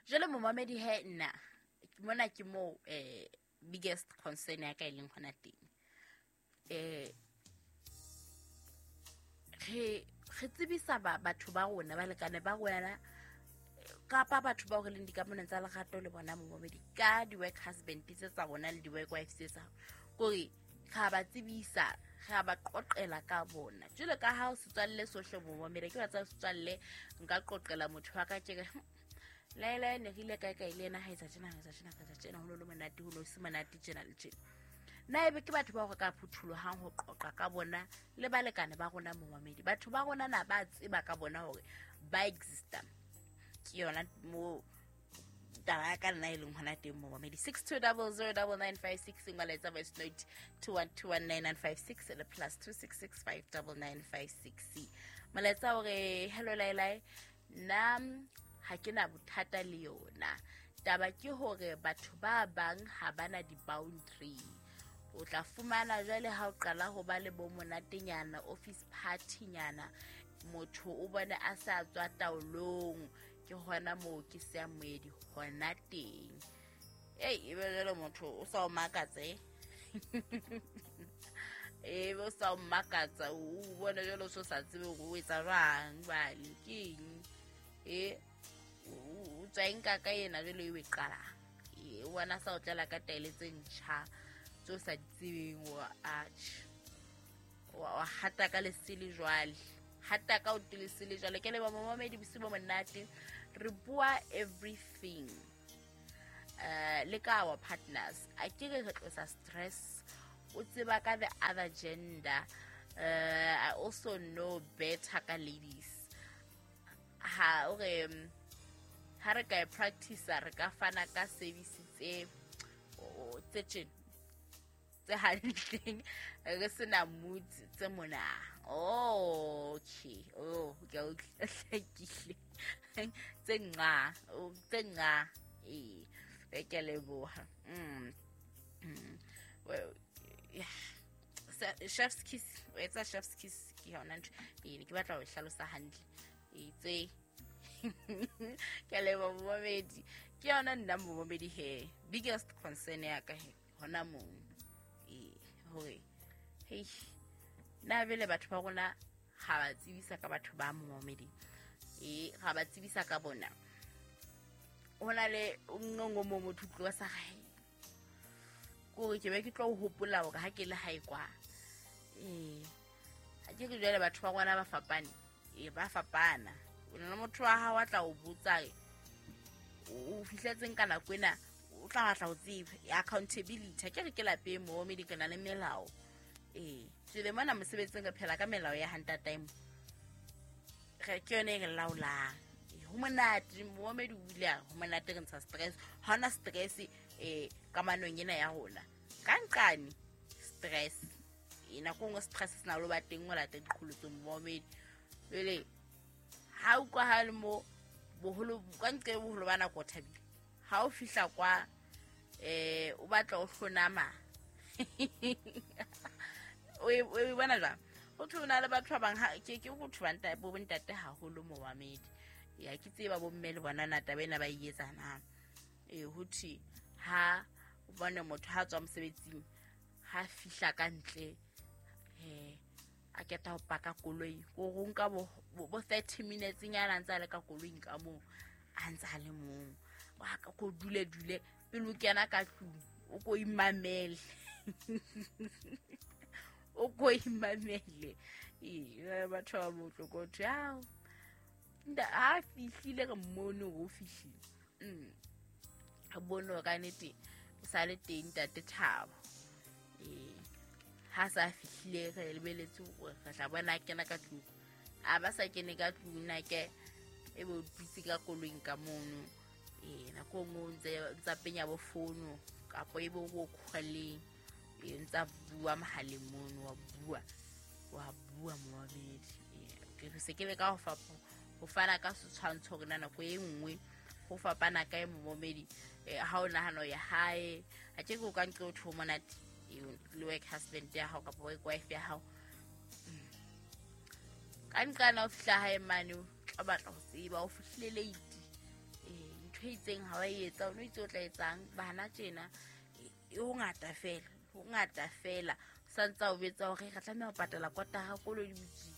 Jwale momamedi he nna mona ke moo biggest concern ya ka e leng hona teng. Re tsebisa batho ba rona, balekane ba rona, kapa batho bao re leng dikamanong tsa lerato le bona momamedi, ka di-work husband tse tsa rona le di-work wife tse tsa kore re a ba tsebisa, re a ba qoqela ka bona. Jwale ka ha o setswalle sohle momamedi, ke batsa setswalle, nka qoqela motho wa ka tje laela ne re ile kae kae le yena, ha etsa tjena, ha etsa tjena, ha etsa tjena, ho no le monate, ho no se monate tjena le tjena. Na ebe ke batho bao re ka phuthulohang ho qoqa ka bona le balekane ba rona momamedi? Batho ba rona na ba tseba ka bona hore ba exista? Ke yona mo taba ya ka nna e leng hona teng momamedi. 62009956, molaetsa voice note 21219956 le +266 59956. Molaetsa hore hello laelae, nna ha ke na bothata le yona taba, ke hore batho ba bang ha bana di-boundary. O tla fumana jwale ha o qala ho ba le bo monatenyana, office party-nyana, motho o bone a sa tswa taolong, ke hona moo ke seya moedi hona teng. Ei, ebe jwale motho o sa o makatse, ebe o sa o makatsa, o bone jwale o so sa tsebe hore o etsa jwang, bale ke eng e o tswa eng ka ena jwale e o e qalang. O bona sa o tlela ka taele tse ntjha tse o sa di tsebeng, wa atjhe wa hata ka lesele jwale, hata ka o lesele jwale. Ke leba momamedi, bosiu bo monate. Re bua everything le ka our partners, a ke re re tlosa stress, o tseba ka the other gender. I also know better ka ladies ha o re ha re ka e practice, re ka fana ka service tse tse tjena tse hantleng, re sena mood tse mona. Oh, okay, oh, ke a hlakile, tse nqa, tse nqa. Ee, ke a leboha. Well, yeah. Chef's kiss, o etsa chef's kiss, ke yona ntho ee ne ke batla ho e hlalosa hantle. E tse ke a leboha momamedi, ke yona nna momamedi he biggest concern ya ka he hona moo, ee, hore hei na bele batho ba rona ga ba tsebisa ka batho ba momamedi, ee, ga ba tsebisa ka bona. Ho na le nngwe mo motho tloa sa gae kore ke be ke tlo hopola hore ha ke le hae kwa, ee, ha ke re jwale batho ba rona ba fapane, ee, ba fapana. O na le motho wa hao a tla o botsa o fihletseng ka nako ena, o tla batla ho tseba accountability. Ha ke re ke lapeng mo mme ke na le melao, ee, jwale mona mosebetsing re phela ka melao ya hantatime, re ke yone e re laolang. Ho monate momamedi, o ile a ho monate, re ntsha stress, ha hona stress kamanong ena ya rona. Ka nqane stress e nako nngwe stress se na le ba teng o lata diqholotsong momamedi. Jwale ha utlwahale mo boholo ka nqe boholo ba nako o thabile, ha o fihla kwa o batla o hlonama, o e bona jwang? Ho thwe o na le batho ba bang, ke ho thwe bo bontate haholo momamedi, ya ke tseba bo mme le bona na taba ena ba e etsa na. Ee, ho thwe ha o bone motho ha tswa mosebetsing, ha fihla ka ntle, a keta ho paka koloi, ko go nka bo 30 minutes nyana ntse a le ka koloing ka moo, a ntse a le mong wa ka ko dule dule pele o kena ka tlung, o ko imamele, o ko imamele. Ee, batho ba botlo ko thwe ao ha fihlile, re mmone hore o fihlile, re bone hore ka nnete o sa le teng ntate Thabo. Ee, ha sa fihlile re lebeletse hore re tla bona a kena ka tlung, a ba sa kene ka tlung, na ke e be o dutse ka koloing ka mono. Ee, nako e nngwe o ntsa penya bo fono, kapa e be o bo kgwaleng, ee, ntsa bua mohaleng mono, wa bua, wa bua momamedi. Ee, ke se ke le ka ho fana ka setshwantsho hore na nako e nngwe ho fapana kae momamedi. Ha o nahana ho ya hae, a ke ke o ka nqe o thwe ho monate le work husband ya hao kapa work wife ya hao, ka nqana o fihla hae mane, o tla batla ho tseba o fihlile late, ntho Ntho e itseng ha wa e etsa, o no itse o tla etsang bana tjena. E ho ngata fela, ho ngata fela. Santse o betsa hore re tlameha ho patala kotara kolo di butse.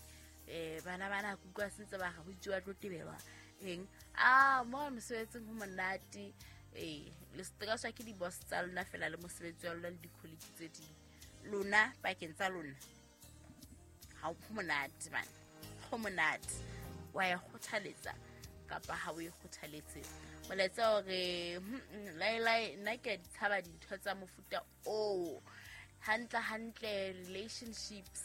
Bana bana ke utlwa sentse ba re ho itse ba tlo tebelwa eng. A mo mosebetsing ho monate. Le se ke di-boss tsa lona fela le mosebetsi wa lona le di-colleague tse ding. Lona pakeng tsa lona ha ho monate bana, ho monate. Wa e kgothaletsa kapa ha o e kgothaletse? Molaetsa hore laelae nna ke a di tshaba dintho tsa mofuta oo. Hantle hantle relationships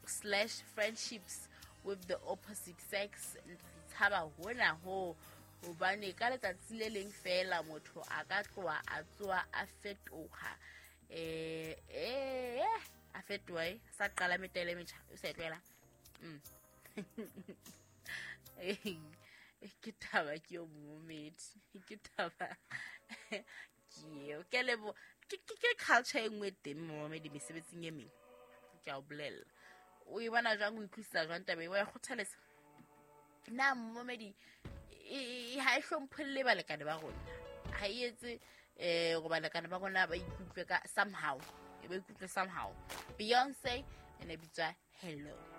slash friendships with the opposite sex, tshaba hona ho, hobane ka letsatsi le leng fela motho a ka tloha a tsoa a fetoha. A fetoha sa qala metele e metjha, o sa e tlwaela. Ke taba ke yo momedi, ke taba ke eo. Ke lebo ke culture e nngwe teng momedi mesebetsing e meng. Ke a o bolella. O e bona jwang, o utlwisisa jwang taba e, wa e kgothaletsa? Na momedi ha e hlompholle balekane ba rona, ha e etse gore balekane ba rona ba ikutlwe ka somehow, ba ikutlwe somehow. Beyonce ene bitswa Hello.